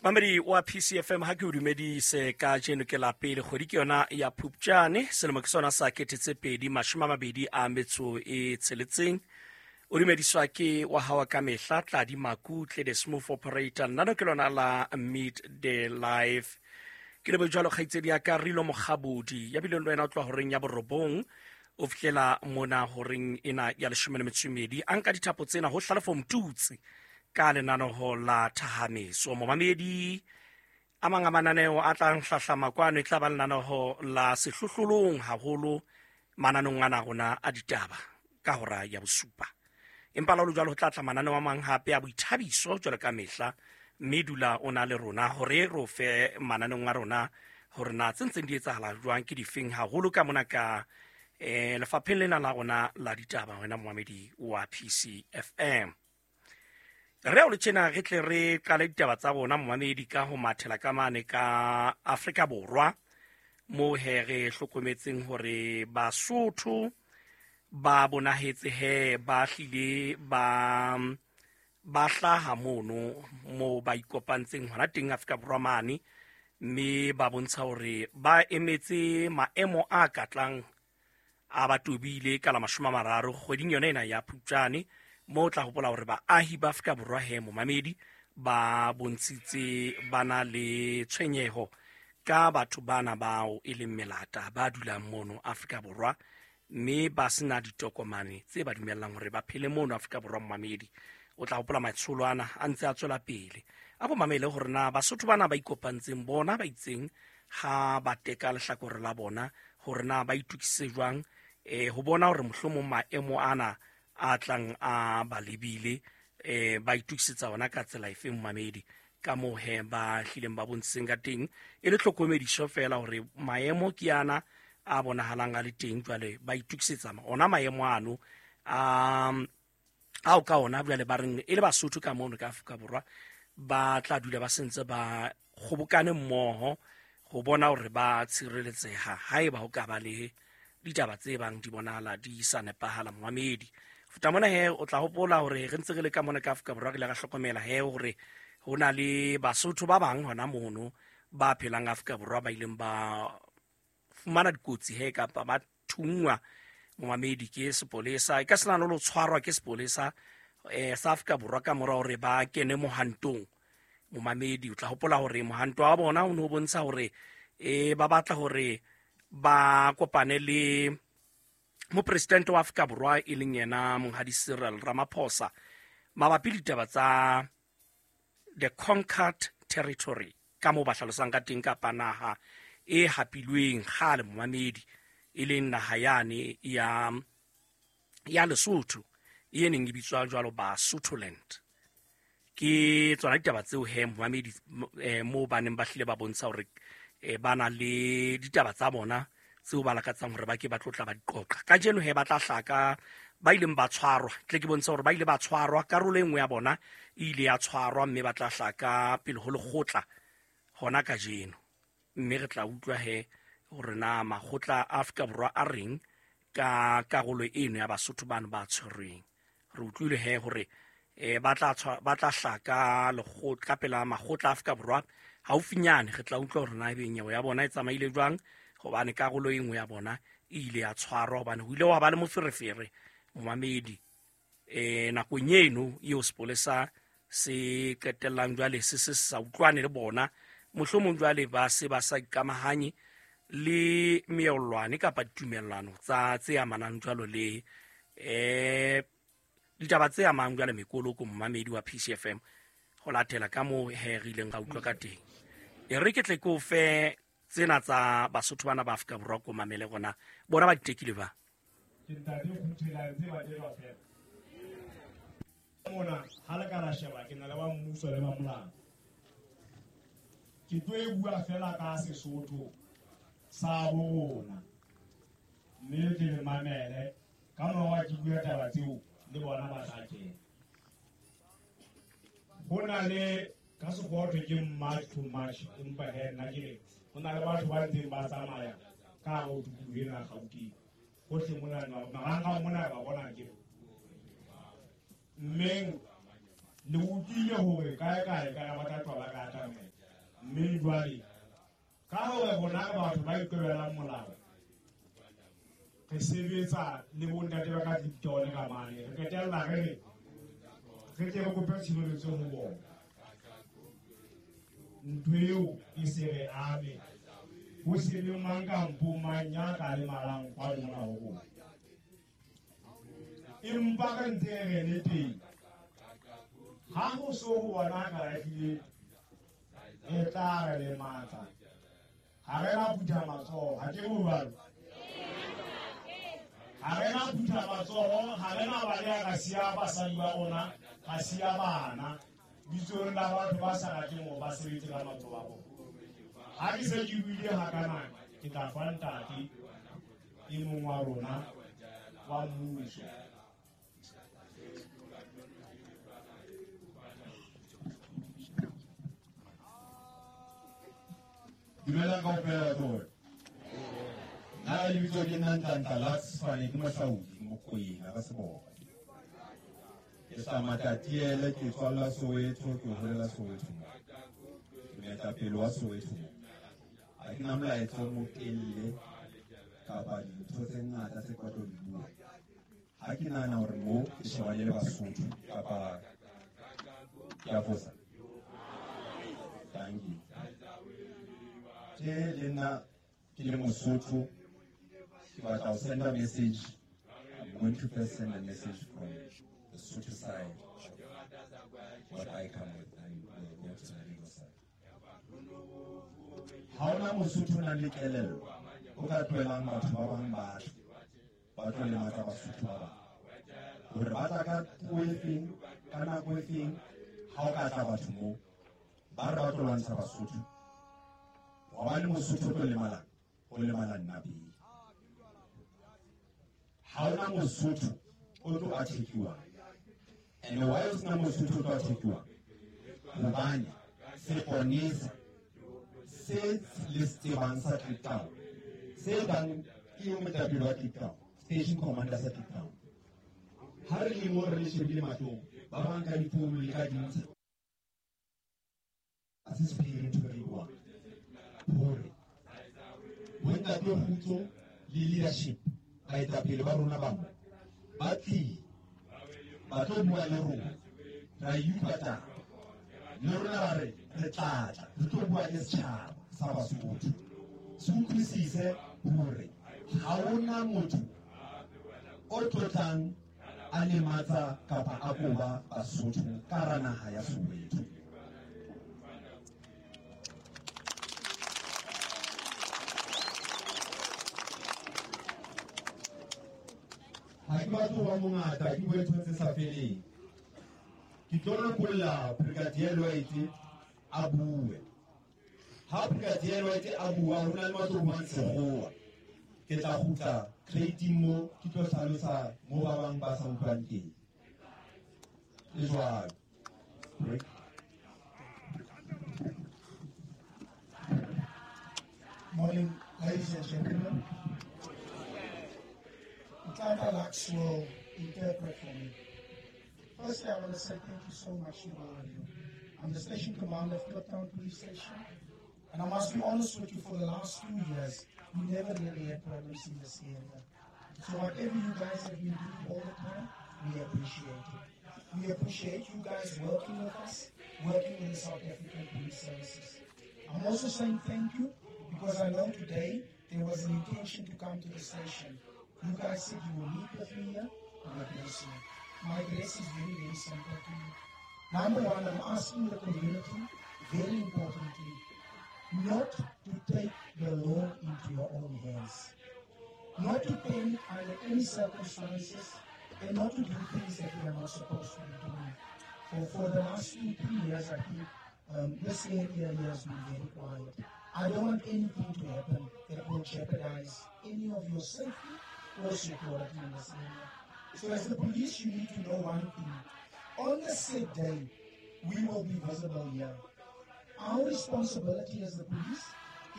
Mamedi wa PCFM, ha ke o dumedise ka jeno. Ke la pele kgwedi ke yona ya Phupjane, selemo ke sona sa 2026. O dumediswa ke wa hawa ka mehla, Tladi Makutle, the smooth operator. Nnano ke lona la Meet the Life. Ke lebo jwalo kgaitsedi ya ka Rilo Mokgabodi, ya bileng le wena o tloha horeng ya 9 o fihlela mona horeng ena ya 12. A nka dithapo tsena ho Hlalefo Mtutsi ka lenanoho la Thahameso. Momamedi, a mang a mananeo a tlang hlahlama kwano e tla ba lenanoho la Sehlohlolong, haholo mananong ana rona a ditaba ka hora ya 7. Empa la jwalo ho tla tla mananeo a mang hape a boithabiso jwalo ka mehla, mme dula o na le rona hore re o fe mananeong a rona hore na tse ntseng di etsahala jwang, ke difeng haholo ka mona ka lefapheng lena la rona la ditaba. Wena momamedi wa PCFM, re o le tjena re tle re qale ditaba tsa rona, momamedi, ka ho mathela ka mane ka Afrika Borwa, mo he re hlokometseng hore Basotho ba bonahetse he ba hlile ba hlaha mono mo ba ikopantseng hona teng Afrika Borwa mane, mme ba bontsha hore ba emetse maemo a katlang a ba tobile ka la 30 kgweding yona ena ya Phupjane, mo o tla hopola hore baahi ba Afrika Borwa he, momamedi, ba bontshitse ba na le tshwenyeho ka batho bana bao e leng melata ba dulang mono Afrika Borwa, mme ba sena ditokomane tse ba dumellang hore ba phele mono Afrika Borwa. Momamedi, o tla hopola matsholo ana a ntse a tswela pele. A ko mamele hore na Basotho bana ba ikopantseng bona ba itseng ha ba teka lehlakore la bona, hore na ba itukisitse jwang ho bona hore mohlomong maemo ana a tlang a ba lebile, ba itukisetsa ona ka tsela efe. Momamedi, ka moo he ba hlileng ba bontshitseng ka teng e le tlhokomediso fela hore maemo ke ana a bonahalang a le teng jwale, ba itukisetsa ona maemo ano a ao ka ona jwale ba reng e le Basotho ka mono ka Afrika Borwa ba tla dula ba sentse ba kgobokane mmoho ho bona hore ba tshireletseha haeba ho ka ba le ditaba tse bang di bonahala di sa nepahala. Momamedi, fota mona he o tla hopola hore re ntse re le ka mona ka Afrika Borwa, re ile ra hlokomela he hore ho na le Basotho ba bang hona mono ba phelang Afrika Borwa ba ileng ba fumana dikotsi he kapa ba thunngwa, momamedi, ke sepolesa, e ka sena le tshwarwa ke sepolesa sa Afrika Borwa ka mora hore ba kene mohantong. Momamedi, o tla hopola hore mohanto wa bona o ne o bontsha hore ba batla hore ba kopane le mopresidente wa Afrika Borwa, e leng yena Monghadi Cyril Ramaphosa, mabapi le ditaba tsa the conquered territory, ka moo ba hlalosang ka teng, kapa naha e hapilweng kgale, momamedi, e leng naha yane ya Lesotho e neng e bitswa jwalo Basotholand. Ke tsona ditaba tseo he, momamedi, moo ba neng ba hlile ba bontsha hore ba na le ditaba tsa bona tseo ba lakatsang hore ba ke ba tlotla ba di qoqa. Kajeno he ba tla hlaka ba ileng ba tshwarwa, tle ke bontsha hore ba ile ba tshwarwa, karolo e nngwe ya bona e ile ya tshwarwa, mme ba tla hlaka pele ho lekgotla hona kajeno, mme re tla utlwa he hore na makgotla a Afrika Borwa a reng ka karolo eno ya Basotho bano ba tshwerweng. Re utlwile he hore ba tla hlaka lekgotla ka pela makgotla a Afrika Borwa haufinyane. Re tla utlwa hore na ebe nyewe ya bona e tsamaile jwang, hobane karolo e nngwe ya bona e ile ya tshwarwa, hobane ho ile wa ba le moferefere, momamedi, nakong eno eo sepolesa se qetellang jwale se se sa utlwane le bona, mohlomong jwale ba se ba sa ikamahanye le meellwane kapa ditumellano tsa tse amanang jwalo le ditaba tse amang jwale mekoloko. Momamedi wa PCFM, ho latela ka moo he re ileng ra utlwa ka teng, e re ke tle ke o fe tsena tsa Basotho bana ba Afrika Borwa, ko mamele gona bona ba ditekile ba. Ke ntate Kguthelang tse batelwa fela mona. Ha le ka la sheba, ke na le ba mmuso le ba molao. Ke tlo e bua fela ka Sesotho sa bo rona, mme ke le mamele ka mora ke bua taba tseo le bona ba tla kena. Ho na le ka Sekgowa thwe ke march to march, empa he nna ke re ho na le batho ba ntseng ba tsamaya ka hare ho tikoloho ena ya Gauteng hohle mona, marangrang mona ba bona ke mmeng. Le utlwile hore kae kae kana ba tla tloha ba ka atamela. Mme jwale ka hore rona re batho ba iqobelang molao, re sebetsa le bontate ba ka Clifton ka mane, re qetella re re re tle re kope tshireletso ho bona. Ntho eo e se re ame, ho se le mang kampo mang ya ka lemalang kwano mona ho rona. Empa re ntse re le teng, ha ho so ho bona ka ehlile e tla re lematsa. Ha re na phutha matsoho, ha ke jwalo. Ha re na phutha matsoho, ha re na baleha ka siya basadi ba rona, ka siya bana. Bitsong la batho ba sa rateng hore ba sebetse ka matsoho a bona. Ha ke se ke buile hakana, ke tla fa ntate e mong wa rona wa mmuso. Dumelang kaofela tsona. Nna lebitso ke nna Nhlanhla Lux Fane, ke Mohlaodi, Mokwena ka Seboko. Ke hlaha Matatiele, ke tswalla Soweto, ke holela Soweto mo. Ke moetapele wa Soweto mo. Ha ke na molaetsa o motelle kapa dintho tse ngata tse ke batla ho di bua. Ha ke nahana hore mo ke shebane le Basotho kapa ke a fosa. Thank you. Ke le nna ke le Mosotho, ke batla ho send a message. I'm going to first send a message from the Sotho side, what I come with, and we'll go to the legal side. Ha hona Mosotho o nang le kelello o ka tlohelang batho ba bang ba tle, ba tlo lematsa Basotho ba bang. Hore ba tla ka puo e feng, ka nako e feng, ha o ka tla batho moo, ba re ba tlo lwantsha Basotho. Hobane Mosotho o tlo lemalang, o lemala nna pele. Ha hona Mosotho o tlo attack-iwang. And why o sena Mosotho o tlo attack-iwang? Hobane seponesa se le se tsebang sa Kliptown, se bang ke moetapele wa Kliptown, station commander sa Kliptown. Ha re le mo re le shebile mahlong, ba bang ka difounu le ka dintsha. Ha se sephiri ntho e re buang. Hore bontate Kgutso le leadership, baetapele ba rona ba mo, ba tlile, ba tlo bua le rona, ra e utlwa taba. Le rona ba re, re tla tla, re tlo bua le setjhaba sa Basotho. Se utlwisise hore ha hona motho o tlotlang a lematsa kapa a koba Basotho ka hara naha ya Soweto. Ha ke batle ho ba mongata, ke bue ntho tse sa feleng. Ke tlo lokolla Brigadier Lloyd a bue. Ha Brigadier Lloyd a bua, ho na le batho ba buang sekgowa. Ke tla kgutla crate-ing mo, ke tlo hlalosa mo ba bang ba sa utlwang teng. Le jwalo. Break. Morning, ladies and gentlemen. Nhlanhla Lux will interpret for me. Firstly, I want to say thank you so much to all of you. I'm the station commander of Kliptown Police Station. And I must be honest with you, for the last 2 years, we never really had problems in this area. So whatever you guys have been doing all the time, we appreciate it. We appreciate you guys working with us, working with the South African Police Services. I'm also saying thank you because I know today there was an intention to come to the station. You guys said you will meet with me here, and address you. My address is very, very simple to you. Number one, I'm asking the community, very importantly, not to take the law into your own hands. Not to panic under any circumstances, and not to do things that we are not supposed to be doing. For the last 2-3 years, I think, this area here has been very quiet. I don't want anything to happen that will jeopardize any of your safety or security in this area. So as the police, you need to know one thing. On the said day, we will be visible here. Our responsibility as the police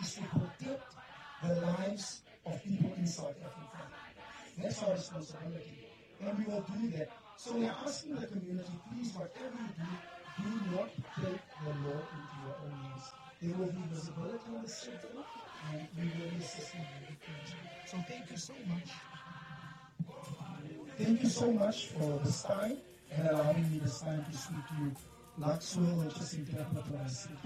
is to protect the lives of people in South Africa. That's our responsibility. And we will do that. So we are asking the community, please, whatever you do, do not take the law into your own hands. There will be visibility on the street and we will be assisting you. So thank you so much. Thank you so much for this time and allowing me this time to speak to you. Luxwell will just interpret what I said.